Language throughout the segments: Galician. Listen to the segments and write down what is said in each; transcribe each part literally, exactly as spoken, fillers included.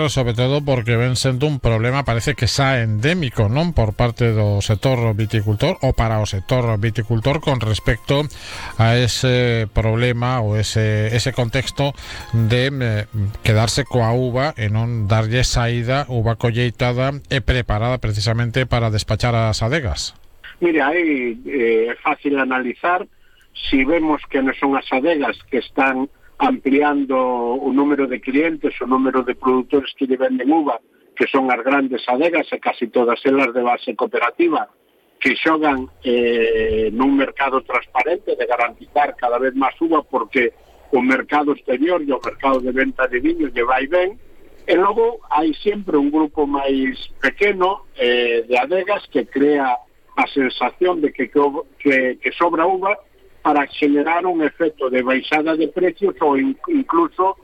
Sobre todo porque ven sendo un problema, parece que xa endémico, non, por parte do sector viticultor ou para o sector viticultor con respecto a ese problema ou ese, ese contexto de eh, quedarse coa uva e non darlle saída, uva colleitada e preparada precisamente para despachar as adegas. Mire, aí é eh, fácil analizar si vemos que non son as adegas que están ampliando o número de clientes, o número de produtores que lle venden uva, que son as grandes adegas e casi todas elas de base cooperativa, que xogan eh, nun mercado transparente de garantizar cada vez máis uva porque o mercado exterior e o mercado de venta de viño lle vai ben, e logo hai sempre un grupo máis pequeno eh, de adegas que crea a sensación de que, que, que sobra uva para generar un efecto de baixada de precios ou incluso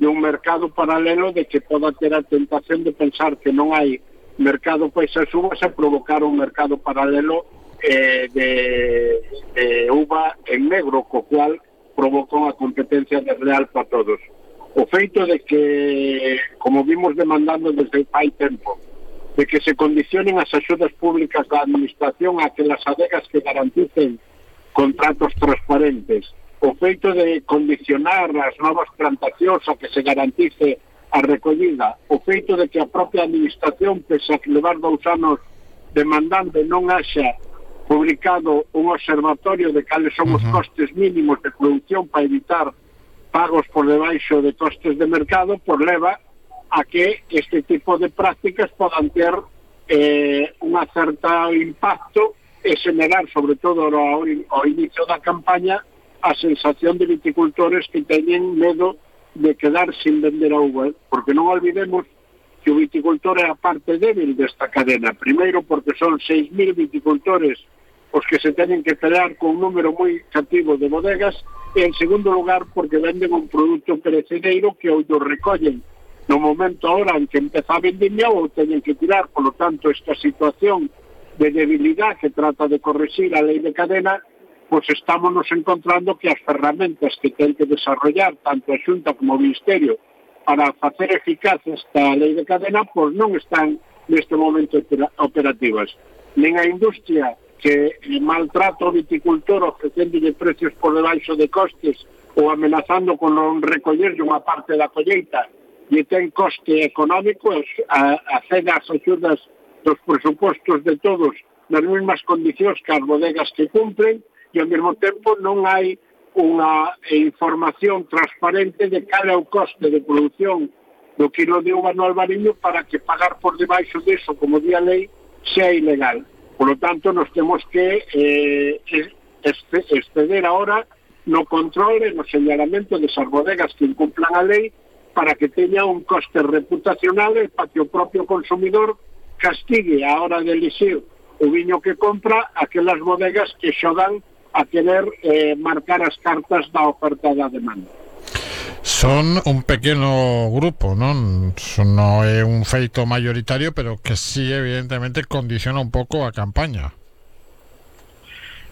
de un mercado paralelo de que poda ter a tentación de pensar que non hai mercado para esas uvas e provocar un mercado paralelo eh, de, de uva en negro, co cual provoca unha competencia desleal para todos. O feito de que, como vimos demandando desde hai tempo, de que se condicionen as axudas públicas da administración a que las adegas que garanticen contratos transparentes, o feito de condicionar as novas plantacións a que se garantice a recollida, o feito de que a propia administración, pese a que levar dous anos demandando, non haxa publicado un observatorio de cales son os costes mínimos de producción para evitar pagos por debaixo de costes de mercado, por leva a que este tipo de prácticas podan ter eh, unha certa impacto e generar, sobre todo ao, ao inicio da campaña, a sensación de viticultores que teñen medo de quedar sin vender a uva, porque non olvidemos que o viticultor é a parte débil desta cadena. Primeiro, porque son seis mil viticultores os que se teñen que pelear con un número moi cativo de bodegas, e en segundo lugar, porque venden un produto perecedeiro que ou do recollen no momento ahora en que empeza a vendimia ou teñen que tirar. Por lo tanto, esta situación de debilidade que trata de corregir a lei de cadena, pois estamos nos encontrando que as ferramentas que ten que desarrollar tanto a Xunta como o Ministerio para facer eficaz esta lei de cadena, pois non están neste momento operativas. Nen a industria que maltrata o viticultor ofrecéndole precios por debaixo de costes ou amenazando con non recollerlle unha parte da colleita e ten coste económico, a, a ceda as axudas dos presupostos de todos nas mesmas condicións que as bodegas que cumplen, e ao mesmo tempo non hai unha información transparente de cal é o coste de produción do quilo de uva no Albariño para que pagar por debaixo disso, como di a lei, sea ilegal. Por lo tanto, nos temos que eh, exceder ahora no control e no señalamento desas bodegas que incumplan a lei para que teña un coste reputacional e para que o propio consumidor castigue a hora de elixir o viño que compra aquelas bodegas que xogan a querer eh, marcar as cartas da oferta e da demanda. Son un pequeno grupo, non? Non é un feito maioritario, pero que sí, evidentemente, condiciona un pouco a campaña.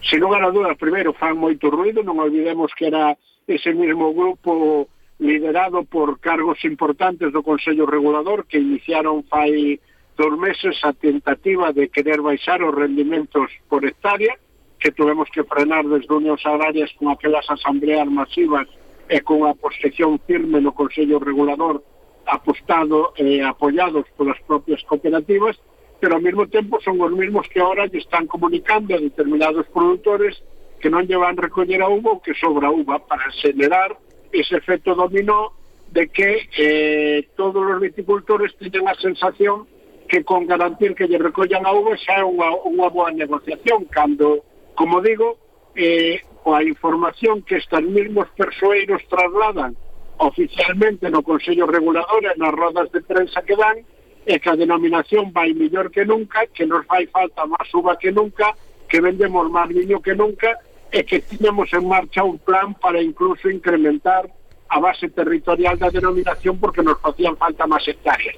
Sin lugar a dudas, primeiro, fan moito ruido. Non olvidemos que era ese mesmo grupo liderado por cargos importantes do Consello Regulador que iniciaron fai dos meses a tentativa de querer baixar os rendimentos por hectárea, que tuvemos que frenar desde Unións Agrarias con aquelas asambleas masivas e con a posición firme no Consello Regulador apostado e eh, apoiados polas propias cooperativas, pero ao mesmo tempo son os mesmos que ahora lle están comunicando a determinados produtores que non lle van recoller a uva ou que sobra uva, para generar ese efecto dominó de que eh, todos os viticultores teñen a sensación que con garantir que lle recollan a uva xa é unha, unha boa negociación, cando, como digo, eh, a información que estes mesmos persoeiros trasladan oficialmente no Consello Regulador e nas rodas de prensa que dan é que a denominación vai mellor que nunca, que nos fai falta máis uva que nunca, que vendemos máis viño que nunca, e que tiñamos en marcha un plan para incluso incrementar a base territorial da denominación porque nos facían falta máis hectáreas.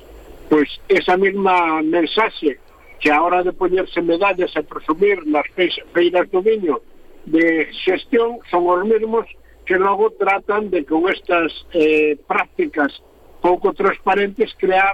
Pois esa mesma mensaxe que a hora de poñerse medallas e presumir nas feiras do viño de xestión son os mesmos que logo tratan de con estas eh, prácticas pouco transparentes crear